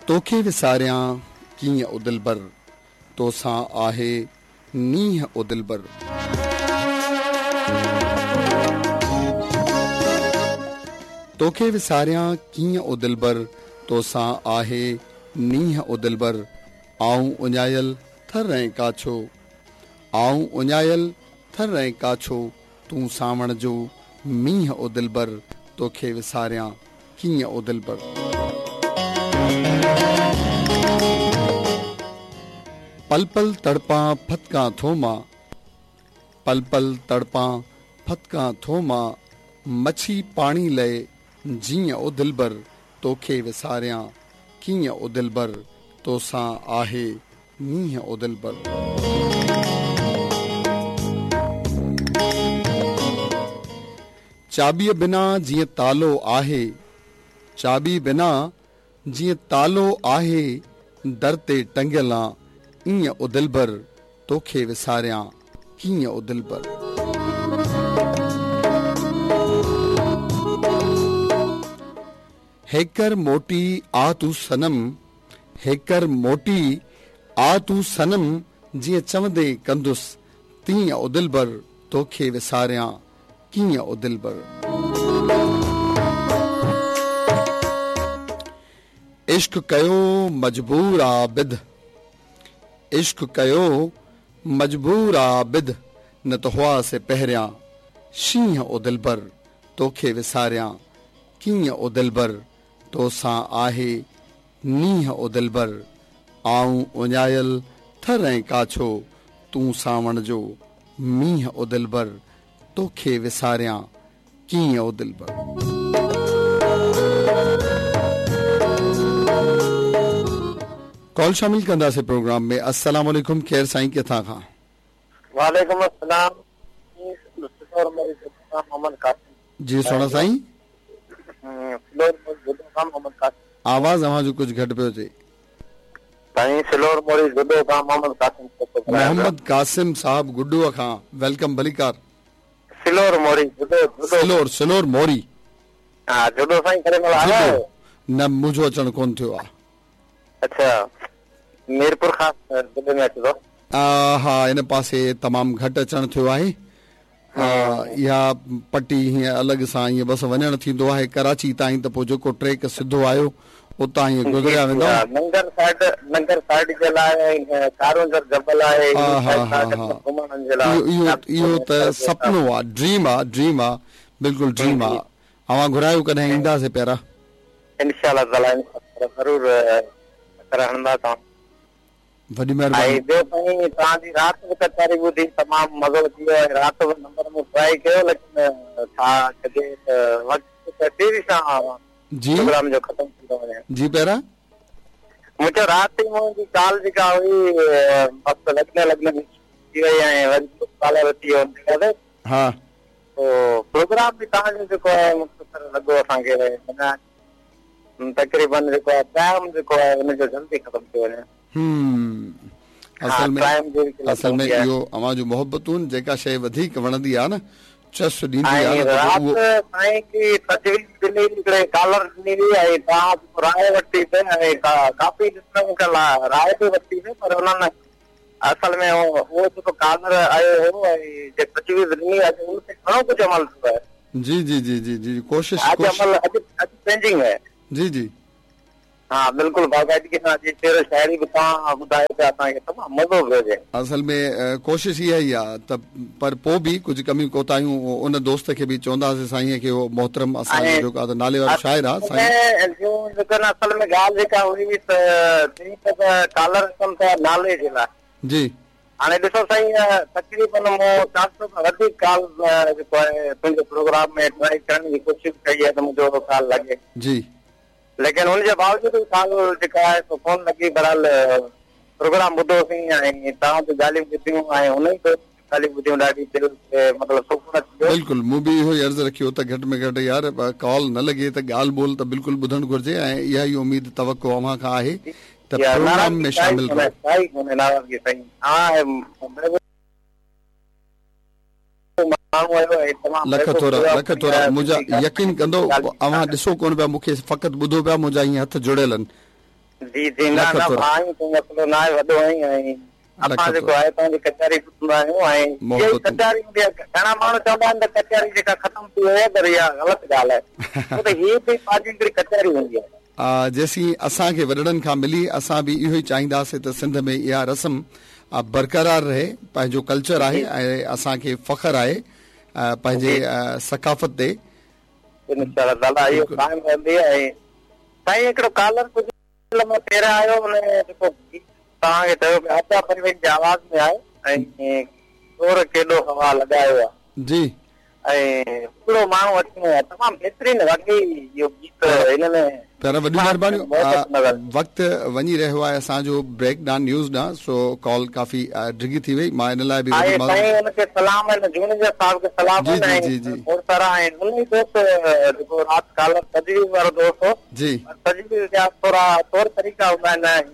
توکي وساريان ڪيئن او دلبر، توسان آهي نينهن او دلبر. توکي وساريان ڪيئن او دلبر، توسان آهي نينهن او دلبر. آئون اڃايل ٿر ۽ ڪاڇو، آئون اڃايل ٿر ۽ ڪاڇو، تون سانوڻ جو مينهن او دلبر، توکي وساريان ڪيئن او دلبر. پل پل تڙپان ڦٿڪان ٿو مان، پل پل تڙپان ڦٿڪان ٿو مان، مڇي پاڻي لئي جيئن او دلبر، توکي وساريان ڪيئن او دلبر، توسان آهي نينهن او دلبر. چاٻيء بنا جيئن تالو آهي، چاٻي بنا جيئن تالو آهي، در تي ٽنگيل آن ايئن او دلبر، توکي وساريان ڪيئن او دلبر. هيڪر موٽي آ تون صنم، هيڪر موٽي آ تون صنم، جيئن چوندين ڪندس تيئن او دلبر، توکي وساريان ڪيئن او دلبر. عشق ڪيو مجبور عابد، عشق ڪيو مجبور عابد، نه ته هئا سي پهريان شينهن او دلبر، توکي وساريان ڪيئن او دلبر، توسان آهي نينهن او دلبر، آئون اڃايل ٿر ۽ ڪاڇو، تون سانوڻ جو مينهن او دلبر، توکي وساريان ڪيئن او دلبر. ڪال شامل ڪنداسين پروگرام ۾. السلام عليڪم ڪير سائين ڪٿان کان. وعليڪم السلام محمد قاسم. جي سهڻا سائين. سلور موري جهڏو کان محمد قاسم. آواز اوهان جو ڪجهه گهٽ پيو اچي. سائين سلور موري جهڏو کان محمد قاسم کوسو ڳالهايان پيو. محمد قاسم صاحب گڊوء کان welcome ڀليڪار. سلور موري جهڏو جهڏو. سلور سلور موري. ها جهڏو سائين ڪڏهن مهل آيا آهيو. نه منهنجو اچڻ ڪونه ٿيو آ. اڇا ميرپورخاص ضلعي ۾ اچي ٿو. ها ان پاسي تمام گهٽ اچڻ ٿيو آهي. اها پٽي هيئن الڳ سان ائين بس وڃڻ ٿيندو آهي ڪراچي تائين ته پوء جيڪو ٽريڪ سڌو آيو اتان ائين گذريا ويندا. ننگر سائيڊ ننگر سائيڊ جي لاء ۽ ڪارونجهر جبل آهي ها ها ها ها اهو اهو ته سپنو آ ڊريم آ ڊريم آ بلڪل ڊريم آ اوهان گهرايو ڪڏهن اينداسين پيارا. انشاء الله تعالي انشاء الله ضرور چڪر هڻندا توهان. وڏي مهرباني. ۽ ٻيو سائين توهان جي رات به ڪچهري ٻڌي تمام مزو اچي ويو ۽ رات به نمبر مون ٽرائي ڪيو ليڪن ڇا ڪجي ته وقت تيزي سان جي پروگرام جو ختم ٿي ٿو وڃي. جي پيارا. مون چيو رات ئي منهنجي ڪال جيڪا هئي بس لڳندي لڳندي مس ٿي وئي ۽ وري ٻيو ڪالر اچي ويو ان جي بعد. ها. پوء پروگرام به توهان جو جيڪو آهي مختصر لڳو اسان کي معنيٰ تقريبن جيڪو آهي ٽائيم جيڪو آهي ان جو جلدي ختم ٿي وڃي. هم اصل ۾ اصل ۾ اهو اوهان جون محبتون جيڪا شيء وڌيڪ وڻندي آهي نه چس ڏيندي آهي نه ته پوء اهو. رات سائين هڪڙي تجويز ڏني هئي هڪڙي ڪالر ڏني هئي ۽ توهان جيڪو راء ورتي سي ۽ ڪافي لسنرن کان راء به ورتي سي پر انهن اصل ۾ اهو جيڪو ڪالر آيو هو ۽ جيڪا تجويز ڏني اڄ ان تي گهڻو ڪجهه عمل ٿيو آهي. جي جي جي جي جي ڪوشش اڄ عمل اڄ اڄ چينجنگ آهي. جي جي. ها بلڪل باقاعدگي سان اڄ شعر و شاعري به توهان ٻڌايو پيا اسان کي تمام مزو پيو اچي. اصل ۾ ڪوشش اها ئي آ ته پر پو به ڪجهه ڪميون ڪوتاهيون ان دوست کي به چونداسين سائين کي اهو محترم اسان جو جيڪو آ ته نالي وارو شاعر آ سائين. جيڪو اصل ۾ ڳالهه جيڪا هئي ته چئي ته ڪالر اچن ٿا نالي جي لاء. جي. هاڻي ڏسو سائين تقريبن مون 400 کان وڌيڪ ڪال جيڪو آهي تنهنجي پروگرام ۾ ٽرائي ڪرڻ جي ڪوشش ڪئي آهي ته منهنجو ڪال لڳي. جي. ليڪن ان جي باوجود به ڪال جيڪا آهي سو ڪونه لڳي بهرحال پروگرام ٻڌوسين ۽ توهان جون ڳالهيون ٻڌيون ۽ ان ئي دوست جون ڳالهيون ٻڌيون ڏاڍي دل کي مطلب سڪون اچي ويو. بلڪل مون به اهو ئي عرض رکيو ته گهٽ ۾ گهٽ يار ڪال نه لڳي ته ڳالهه ٻولهه ته بلڪل ٻڌڻ گهرجي ۽ اها ئي اميد توقع اوهان کان آهي ته پروگرام ۾ شامل رهو. ڪائي ڪونهي ناراضگي سائين اوهان لک ٿورا لک ٿورا منهنجا يقين ڪندو اوهان ڏسو ڪونه پيا مون کي فقط ٻڌو پيا منهنجا هيئن هٿ جڙيل آهن. جي جي نه لک نه ٿورا. ڀاء ائين ڪو مسئلو نه آهي وڏو آهين ۽ لک اسان جيڪو ٿورا. آهي توهان جي ڪچهري ٻڌندا آهيون ۽ اها ئي محبتون. ڪچهري هوندي آهي گهڻا ماڻهو چوندا آهن ته ڪچهري جيڪا ختم ٿي وئي آهي پر اها غلط ڳالهه آهي ڇو ته هي به پنهنجي هڪڙي ڪچهري هوندي آهي. جيسين اسان کي وڏڙن کان ملي اسان به اهو ئي چاهينداسين ته سنڌ ۾ اها رسم برقرار رهي پنهنجو ڪلچر آهي جي ۽ اسان کي فخر آهي پنهنجي جي ثقافت تي. انشاء الله تعالي اهو بلڪل. قائم رهندي ۽ سائين هڪڙو ڪالر ڪجهه لمحا پهريان آيو ان جيڪو گيت توهان کي چيو پيا عابده پروين جي آواز ۾ آهي ۽ زور ڪيڏو هوا لڳايو آ جي. ۽ هڪڙو ماڻهو اچڻو آ تمام بهترين واقعي اهو گيت هن ۾ پيارا وڏيون خاص مهربانيون محبت نظر وقت وڃي رهيو آهي اسان جو بريڪ ڏانهن نيوز ڏانهن سو ڪال ڪافي ڊگهي ٿي وئي مان ان لاء به وڏي آهي معذرت سائين ان کي سلام آهن جوڻيجا صاحب کي سلام جي آهن جي ۽ جي جي کوڙ سارا آهن ان ئي دوست جيڪو رات ڪالر تجويز وارو دوست هو جي پر تجويز جا ٿورا طور طريقا هوندا آهن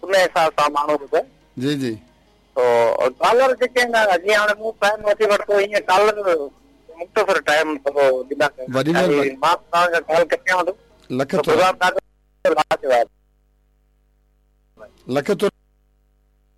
ان حساب سان ماڻهو ٻڌي جي جي تو ڪالر جيڪي آهن جيئن هاڻي مون ٽائيم وٺي ورتو ائين ڪالر مختصر ٽائيم ٿورو ڏيندا ڪيو وڏي مهرباني ۽ مان توهان کان ڪال ڪٽيان ٿو لک ته ٿورا پروگرام ڏاڍو لاجواب لک ٿورا.